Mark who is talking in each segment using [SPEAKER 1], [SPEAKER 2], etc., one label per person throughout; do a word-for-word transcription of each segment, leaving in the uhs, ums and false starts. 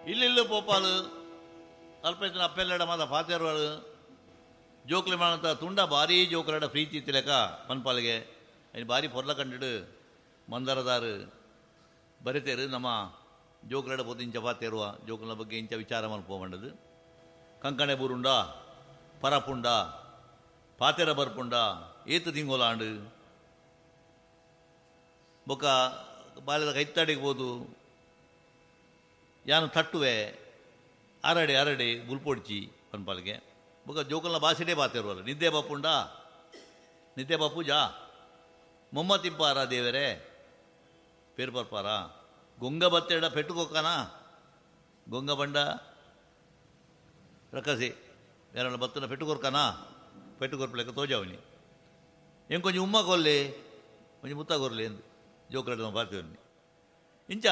[SPEAKER 1] ಇಲ್ಲಿಲ್ಲು ಪೋಪಾಲು ಅಲ್ಪ ಇತ್ತಿನ ಅಪ್ಪೆಲ್ಲಡ ಮಾತ ಪಾತೆರ್ವಾಳು ಜೋಕ್ಲೆ ಮಾಡಂತ ತುಂಡ ಭಾರೀ ಜೋಕ್ಲಡ ಪ್ರೀತಿ ತಿಲಕ ಪನ್ಪಾಲಿಗೆ ಐನ್ ಭಾರಿ ಪೊರ್ಲ ಕಂಡಿಡು ಮಂದರದಾರು ಬರಿತೇರು ನಮ್ಮ ಜೋಕ್ಲಡ ಪೋತು ಇಂಚ ಪಾತೇರುವ ಜೋಕ್ಲನ ಬಗ್ಗೆ ಇಂಚ ವಿಚಾರ ಮಲ್ಪೋಮಂಡದು ಕಂಕಣೆ ಬೂರುಂಡ ಪರಪುಂಡ ಪಾತೆರ ಬರ್ಪುಂಡ ಏತು ತಿಂಗೋಲಾಂಡು ಬೊಕ್ಕ ಬಾಲ್ಯದ ಕೈತ್ತಾಡಿಗೆ ಹೋದು ಯಾನು ತಟ್ಟುವೆ ಅರಡೆ ಅರಡೆ ಬುಲ್ಪೊಡ್ಚಿ ಪನ್ಪಾಲಿಗೆ ಬೊಕ್ಕ ಜೋಕಲ್ನ ಭಾಷೆಡೇ ಬಾತಿರುವಲ್ಲ ನಿದ್ದೆ ಬಾಪುಂಡ ನಿದ್ದೆ ಬಾಪೂಜಾ ಮೊಮ್ಮ ತಿಂಪಾರ ದೇವರೇ ಪೇರು ಪರ್ಪಾರ ಗೊಂಗ ಬತ್ತೆಡ ಪೆಟ್ಟುಕೊಕ್ಕನ ಗೊಂಗ ಬಂಡ ರಕ್ಕಸಿ ಯಾರನ್ನ ಬತ್ತನ ಪೆಟ್ಟುಕೊರ್ಕನ ಪೆಟ್ಟುಕೊರ್ಪಲೆಕ್ಕ ತೋಜಾವನಿ ಏం ಕೊಂಚ ಉಮ್ಮ ಕೊಲ್ಲಿ ಕೊಂಚ ಮುತ್ತ ಕೊರ್ಲಿ ಎಂದು ಜೋಕುಲಡ ಬಾರ್ತೀವನಿ ಇಂಚ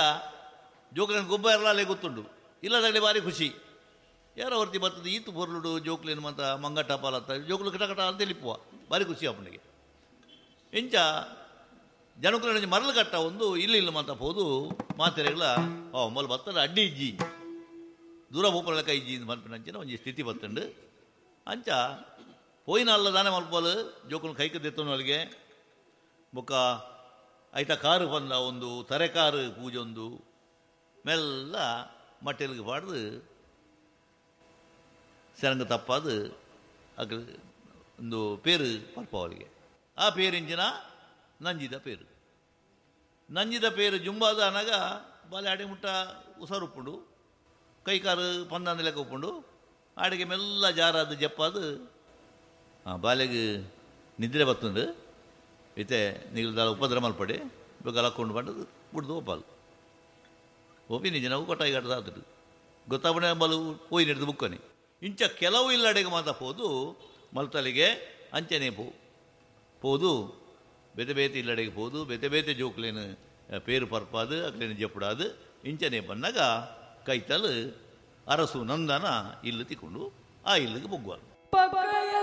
[SPEAKER 1] ಜೋಕುಲನ ಗೊಬ್ಬ ಇರಲಾಲೆ ಗೊತ್ತುಂಡು ಇಲ್ಲದಾಗಲಿ ಭಾರಿ ಖುಷಿ ಯಾರೋ ಹೊರ್ತಿ ಬರ್ತದೆ ಈತು ಪೊರ್ಲುಡು ಜೋಕ್ಲೇನು ಮಾತ್ರ ಮಂಗಟ್ಟ ಪಾಲತ್ತ ಜೋಕುಲು ಕಟ ಕಟ ಅಂತ ಲಿಪ್ಪುವ ಭಾರಿ ಖುಷಿ ಅಪ್ಪನಿಗೆ ಇಂಚ ಜನಕುಲ ಮರಳು ಕಟ್ಟ ಒಂದು ಇಲ್ಲಿ ಇಲ್ಲ ಮಾತ ಹೋದು ಮಾತೆರೆಗಳ ಓ ಮೊಲ ಬತ್ತದ ಅಡ್ಡಿ ಇಜ್ಜಿ ದೂರ ಪೋಪಲ ಇಜ್ಜಿ ಮಲ್ಪಿನಂಚಿನ ಒಂಜಿ ಸ್ಥಿತಿ ಬತ್ತುಂಡು ಅಂಚ ಪೋಯಿನ ಅಲ್ಲ ದಾನೆ ಮಲ್ಪೋಲು ಜೋಕುಲು ಕೈಕ ದೆತ್ತೊನೊಳಗೆ ಬೊಕ್ಕ ಐತ ಕಾರು ಬಂದ ಒಂದು ತರೆಕಾರು ಪೂಜೊಂದು ಮೆಲ್ಲ ಮಟ್ಟೆಲ್ಗೆ ಪಾಡ್ದು ಸೆರಂಗ ತಪ್ಪಾದು ಅಗ್ ಒಂದು ಪೇರು ಪಲ್ಪವಳಿಗೆ ಆ ಪೇರಿಂಚಿನ ನಂಜಿದ ಪೇರು ನಂಜಿದ ಪೇರು ಜುಂಬಾದ ಅನಗ ಬಾಲೆ ಅಡೆ ಮುಟ್ಟ ಉಸರುಪ್ಪುಂಡು ಕೈಕಾರು ಪಂದಂದ ಲೆಕ್ಕ ಉಪ್ಪುಂಡು ಆಡಿಗೆ ಮೆಲ್ಲ ಜಾರಾದ ಜಪ್ಪಾದು ಬಾಲೆಗೆ ನಿದ್ರೆ ಬತ್ತುಂಡು ಇತ್ತೆ ನೀರು ಉಪದ್ರ ಮಲ್ಪಡೆ ಬೇಗ ಲಕ್ಕೊಂಡು ಬಂಡದು ಬುಡ್ದು ಒಪ್ಪಾಲು ಒಪ್ಪಿ ನಿಜ ನಾವು ಕೊಟ್ಟಾಗಿ ಕಟ್ಟದ ಆತಡು ಗೊತ್ತಾಪಣೆ ಬಲು ಪೋಯಿ ನಡೆದು ಬುಕ್ಕನೆ ಇಂಚ ಕೆಲವು ಇಲ್ಲಡೆಗೆ ಮಾತ ಪೋದು ಮಲ್ತಲಿಗೆ ಅಂಚನೆ ಪೋ ಪೋದು ಬೇತೆ ಬೇತೆ ಇಲ್ಲಡೆಗೆ ಪೋದು ಬೇತೆ ಬೇತೆ ಜೋಕ್ಲೇನು ಪೇರು ಪರ್ಪಾದು ಅಕ್ಲೇನು ಜಪ್ಪುಡಾದು ಇಂಚನೆ ಬನ್ನಾಗ ಕೈತಲು ಅರಸು ನಂದನ ಇಲ್ಲು ತಿಕ್ಕೊಂಡು ಆ ಇಲ್ಲಿಗೆ ಬೊಗ್ಗುವರು.